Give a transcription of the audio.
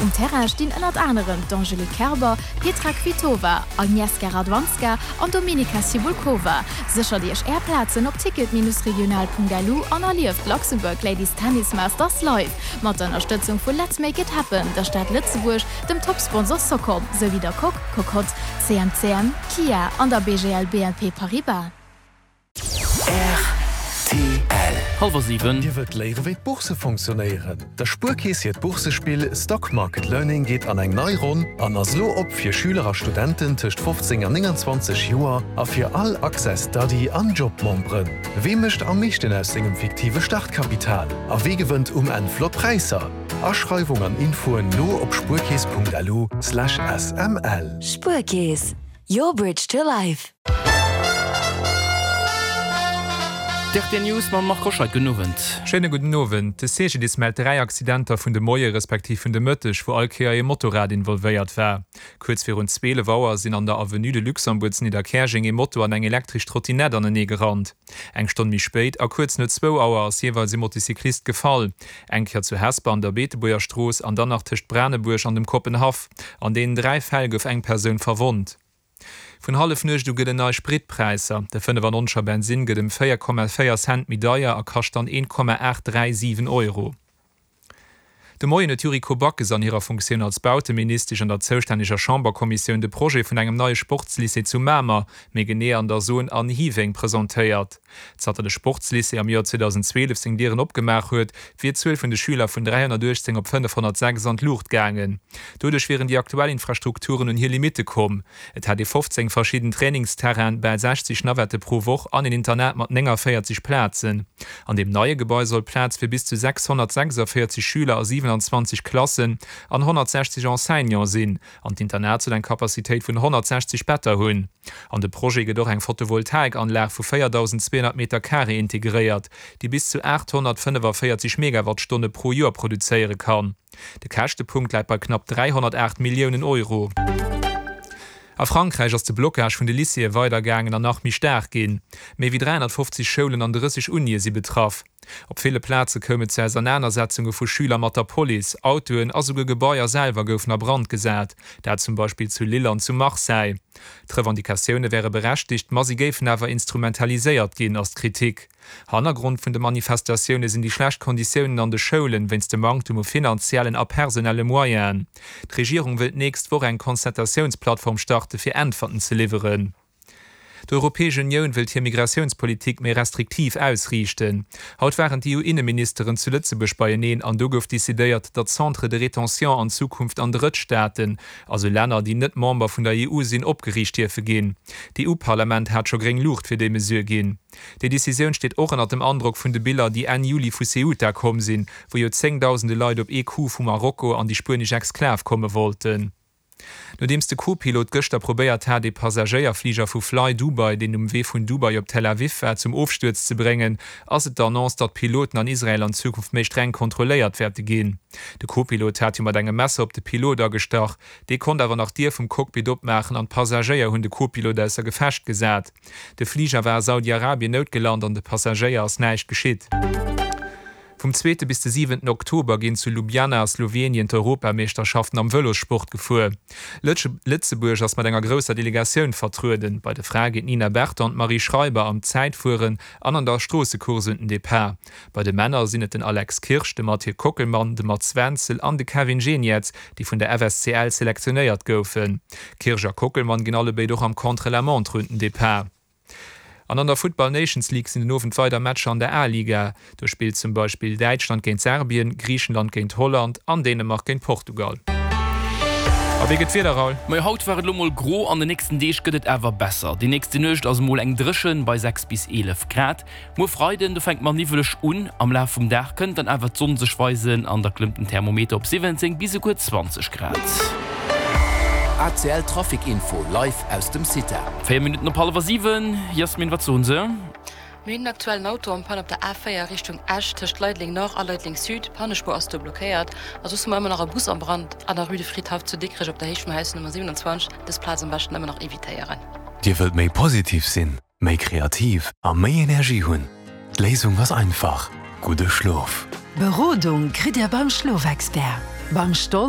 Um Terrain stinn ënnert anerem d'Angelique Kerber, Petra Kvitova, Agnieszka Radwanska an Dominika Cibulkova. Séchert Iech Är Plazen op ticket-regional.lu an erlieft d'Luxembourg Ladies Tennis Masters live! Mat der Ënnerstëtzung vu Let's Make It Happen, der Stad Lëtzebuerg, dem Top-Sponsor Socom, souwéi der Coque, Cocotte, CMCM, Kia an der BGL BNP Paribas. Rtl. Hallwer 7. Dir wëllt léiere wéi d'Bourse fonctionnéieren? Der Spuerkeess hiert Boursespill Stock Market Learning geet an eng nei Ronn an ass elo op fir Schüler a Studenten tëscht 15 an 29 Joer a fir all Access Study an Job Memberen. Wee mécht am meeschten aus sengem fiktive Startkapital a wee gewënnt um Enn flott Präisser? Aschreiwung an Infoen lo op spuerkeess.lu/sml. Spuerkeess, your bridge to life. D'RTL News mam Marc Hoscheid. Gudden Owend. Schéine gudden Owend. De CGDIS mellt 3 Accidenter vun de Moie respektiv vun de Mëtteg, wou all Kéier ee Motorrad involvéiert war. Kuerz virun 12 Auer sinn an der Avenue de Luxembourg zu Nidderkäerjeng ee Moto an eng elektresch Trottinett anenee gerannt. Eng Stonn méi spéit a kuerz no zwou Auer ass jeeweils ee Motocyclist gefall. Eng Kéier zu Hesper an der Beetebuerger Strooss an dann nach tëscht Branebuerg an dem Koppenhaff. An deenen 3 Fäll gouf eng Persoun verwonnt. Vun Hallefnuecht u gëllen nei Spritpräisser. De 95 er Bensinn gëtt ëm 4,4 Cent méi deier a kascht dann 1,837 Euro. De Moien huet d'Yuriko Backes an hirer Funktioun als Bauteministesch an der zoustänneger Chamberkommissioun de Projet vun engem neie Sportslycée zu Mamer, méi genee an der Zone An Hiweng, presentéiert. Zanter de Sportslycée am Joer 2012 seng Dieren opgemaach huet, wier d'Zuel vun de Schüler vun 318 op 506 an d'Luucht gaangen. Doduerch wieren déi aktuell Infrastrukturen un hir Limitte komm. Et hätt ee 15 verschidden Trainingsterrainen, bal 60 Navette pro Woch an een Internat mat 49 Plazen. An deem neie Gebai soll Plaz fir bis zu 646 Schüler a 27 Klassen an 160 Enseignante sinn. An d'Internat soll eng Capacitéit vun 160 Better hunn. An de Projet gëtt och eng Photovoltaikanlag vu 4.200 Meter Carré integréiert, déi bis zu 845 Megawattstonne pro Joer produzéiere kann. De Käschtepunkt läit bei knapp 308 Milliounen Euro. A Frankräich ass de Blockage vun de Lycéeë weidergaangen an nach méi staark ginn. Méi wéi 350 Schoulen an 30 Unie si betraff. Op ville Plaze koum et zu Ausernanersetzunge vu Schüler mat der Police, Autoen a souguer Gebaier selwer goufen a Brand gesat, dat zum Beispill zu Lille an zu Marseille. D'Revendicatioune wäre berechtigt, ma si géifen awer instrumentaliséiert ginn, ass d'Kritik. Hannergrond vun de Manifestatioune sinn déi schlecht Konditiounen an de Schoulen, wéinst dem Manktem u finanziellen a personelle Moyenen. D'Regierung wëll d'nächst Woch eng Concertatiounsplattform starte fir Äntwerten ze liwweren. D'Europäesch Unioun wëllt hir Migratiounspolitik méi restriktiv ausriichten. Haut waren d'EU-Inneministeren zu Lëtzebuerg beieneen an do gouf decidéiert, datt Centres de rétention an Zukunft an Drëttstaaten, also Länner, déi net Member vun der EU sinn, opgeriicht dierfe ginn. D'EU-Parlament hat scho gréng Luucht fir déi Mesure ginn. Déi Decisioun steet och ënnert dem Androck vun de Biller, déi Enn Juli vu Ceuta komm sinn, wou jo zéngdausende Leit op ee Coup vu Marokko an déi spuenesch Exklav komme wollten. Nodeems de Co-Pilot gëschter probéiert hat, ee Passagéierfliger vu Fly Dubai, deen um Wee vun Dubai op Tel Aviv war, zum Ofstuerz ze bréngen, ass et d'Annonce, datt d'Piloten an Israel an Zukunft méi streng kontrolléiert wäerte ginn. De Co-Pilot hat jo mat engem Messer op de Pilot agestach. Dee konnt awer nach d'Dier vum Cockpit opmaachen an d'Passagéier hunn de Co-Pilot ausser Gefecht gesat. De Fliger war a Saudi-Arabien noutgelant an de Passagéier ass näischt geschitt. Vum zweete bis de siwenten Oktober ginn zu Ljubljana a Slowenien d'Europameeschterschaften am Vëlossport gefuer. Lëtzebuerg ass mat enger grousser Delegatioun vertrueden. Bei de Frae geet d'Nina Berton an d'Marie Schreiber am Zäitfueren an an der Stroossecourse un den Depart. Bei de Männer sinn et den Alex Kirsch, de Mathieu Kockelmann, de Mats Wenzel an de Kevin Geniets, déi vun der FSCL selektionéiert goufen. Kirsch a Kockelmann ginn allebéid och am Contre-la-montre un den Depart. An an der Futtball Nations League sinn den Owend weider Matcher an der A-Liga. Do spillt zum Beispill Däitschland géint Serbien, Griichenland géint Holland an Dänemark géint Portugal. A wéi gëtt d'Wieder, Raoul? Majo, haut war et elo mol gro, an de nächsten Deeg gëtt et awer besser. Déi nächste Nuecht ass emol eng dréchen bei 6 bis 11 Grad. Muer Freiden, do fänkt mer niwweleg un, am Laf vum Dag kënnt dann awer d'Sonn sech weisen an da klëmmt den Thermometer op 17 bis esouguer 20 Grad. ACL Trafic Info live aus dem CITA. 4 Minutten op hallwer 7, Jasmin, wat soen se? Mir hunn aktuell en Auto en panne op der A4 Richtung Esch tëscht Leideleng Nord a Leideleng Sud. D'Pannespuer ass do blockéiert. A soss hu mer ëmmer nach e Bus am Brand an der Rue de Fridhaff zu Dikrech op der Héicht vum Haus Nummer 27. Dës Plaz am beschten ëmmer nach evitéieren. Dir wëllt méi positiv sinn? Méi kreativ a méi Energie hunn? D'Léisung ass einfach, gudde Schlof! Berodung kritt Dir beim Schlofexpert, beim Stoll.